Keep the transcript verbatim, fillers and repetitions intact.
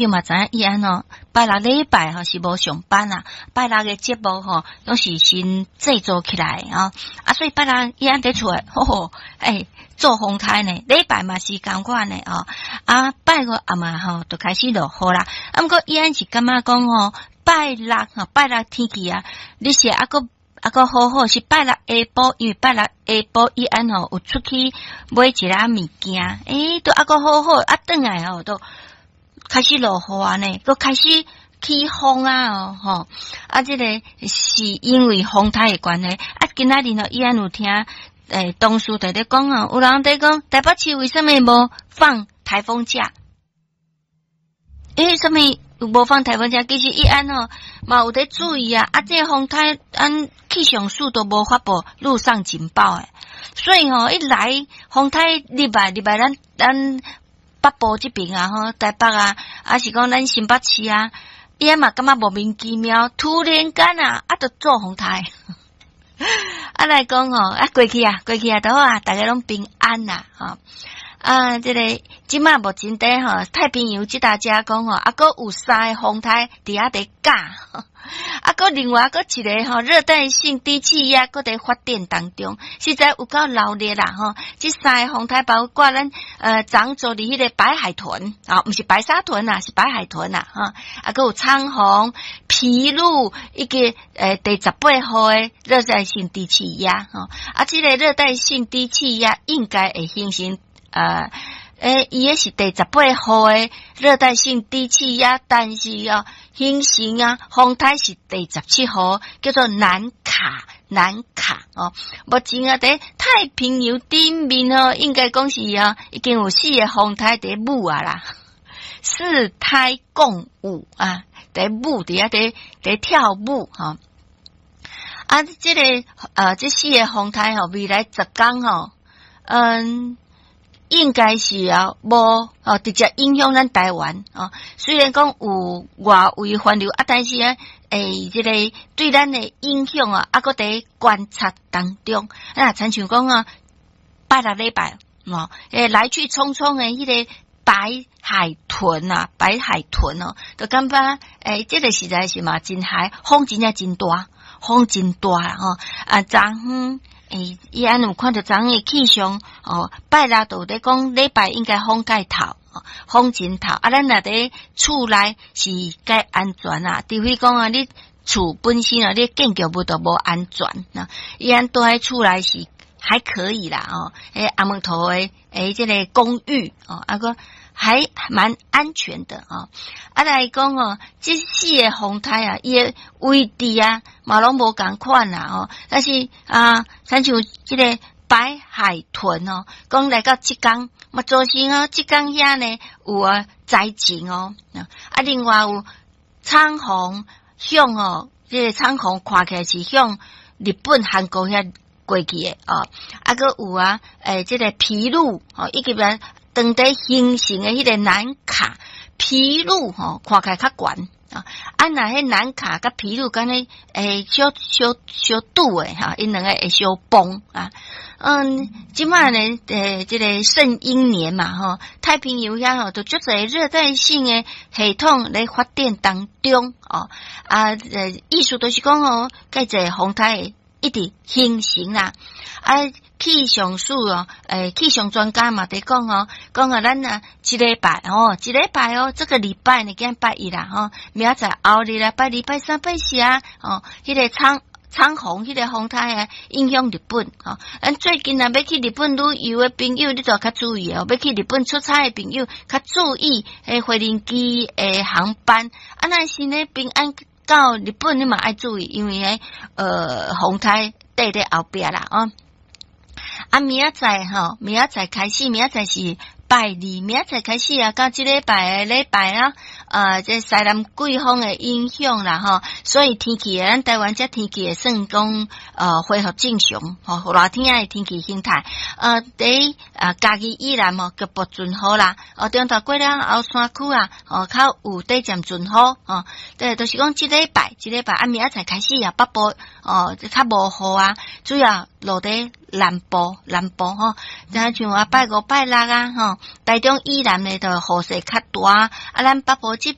嘛知影伊按哦，拜六禮拜吼是無上班啊，拜六的節目吼攏是先製作起來啊，啊，所以拜六伊按佇厝的，吼吼，欸，做風颱呢，禮拜嘛是仝款的哦，啊，拜五暗嘛吼就開始落雨啦。啊，毋過伊按是感覺講吼，拜六吼，拜六天氣啊，你是猶閣猶閣好好，是拜六下晡，因為拜六下晡伊按吼有出去買一寡物件，欸，都猶閣好好，啊，轉來吼都開始落雨啊呢，閣開始起風啊哦吼，啊，這個是因為風颱的關係。啊，今仔日吼伊按有聽欸同事佇咧講哦，有人佇講台北市為啥物無放颱風假？欸，啥物無放颱風假？其實伊按吼嘛有佇注意啊，啊，這個風颱按氣象署都無發布陸上警報的，所以吼一來風颱入來入來咱咱北部這邊啊吼，台北啊，抑是講咱新北市啊，伊嘛感覺莫名其妙，突然間啊，啊，就做風颱。啊來講吼，啊過去啊，過去啊，都好啊，大家攏平安啦，吼。啊，這個這馬目前佇吼太平洋這搭遮講吼，啊，閣有三个風颱佇遐佇咬，啊，閣另外閣一個吼熱帶性低氣壓閣佇發展當中，實在有夠鬧熱啦吼。這三个風颱包括咱呃長做佇彼个白海豚啊，毋是白沙屯啊，是白海豚啦，吼。啊，閣有長虹、皮鷺以及呃第十八號的熱帶性低氣壓吼。啊，這個熱帶性低氣壓應該會形成。呃，欸，伊彼是第十八號的熱帶性低氣壓，但是哦，形成啊，風颱是第十七號，叫做南卡，南卡哦。目前啊，佇太平洋頂面哦，應該講是啊，已經有四个風颱佇舞啊啦，四颱共舞啊，佇舞佇遐佇佇跳舞吼。啊，這个呃，這四个風颱吼，未來十工吼，嗯。應該是啊，無哦，直接影響咱台灣哦。雖然講有外圍環流啊，但是呢，欸，這个對咱的影響啊，猶閣佇觀察當中。啊，親像講啊，拜六禮拜哦，欸，來去匆匆的彼个白海豚啊，白海豚哦，就感覺欸，這個實在是嘛真害，風真正真大，風真大啦吼。啊，昨昏。欸，伊按有看著昨昏的氣象哦，拜六就有咧講禮拜應該風蓋頭，風真頭。啊，咱若佇厝內是較安全啊，除非講啊，你厝本身啊，你建築物都無安全啊。伊按蹛佇厝內是還可以啦，哦，欸，阿門頭的欸，這个公寓哦，啊閣還蠻安全的哦。啊來講哦，這四个風颱啊，伊的位置啊，嘛攏無仝款啦哦。但是啊，親像這个白海豚哦，講來到浙江，嘛造成哦，浙江遐呢有啊災情哦。啊，另外有長虹向哦，這个長虹看起來是向日本、韓國遐過去的哦。啊，閣有啊，欸，這个皮鷺哦，以及啊當地形成的彼个南卡皮鷺吼，看起來較懸啊。啊，若彼南卡佮皮鷺敢若會小小小拄的哈，𪜶兩个會相碰啊。嗯，這馬呢，欸，這个聖嬰年嘛吼，太平洋遐吼，都足濟熱帶性的系統咧發展當中哦。啊，呃，意思就是講哦，蓋濟風颱一直形成啦。啊，氣象署哦，欸，氣象專家嘛佇講哦，講啊，咱啊，這禮拜哦，這禮拜哦，這個禮拜呢，今拜一啦吼，明仔載後日啦，拜二、拜三、拜四啊，哦，彼个長長虹，彼个風颱啊，影響日本吼。咱最近若欲去日本旅遊的朋友，你就較注意哦。欲去日本出差的朋友，較注意彼飛行機的航班。啊，若是呢平安到日本，你嘛愛注意，因為彼呃風颱綴佇後壁啦哦。啊，明仔載吼，明仔載開始，明仔載是拜二，明仔載開始啊，到這禮拜的禮拜啊，呃，這西南季風的影響啦吼，所以天氣咱台灣這天氣會算講呃恢復正常吼，熱天的天氣形態，呃，佇啊嘉義以南吼局部陣雨啦，哦，中晝過了後山區啊，哦較有短暫陣雨吼，對，就是講這禮拜，這禮拜啊明仔載開始啊北部哦較無雨啊，主要落佇南部南部吼，若像啊拜五拜六啊吼，台中以南的就雨勢較大，啊咱北部這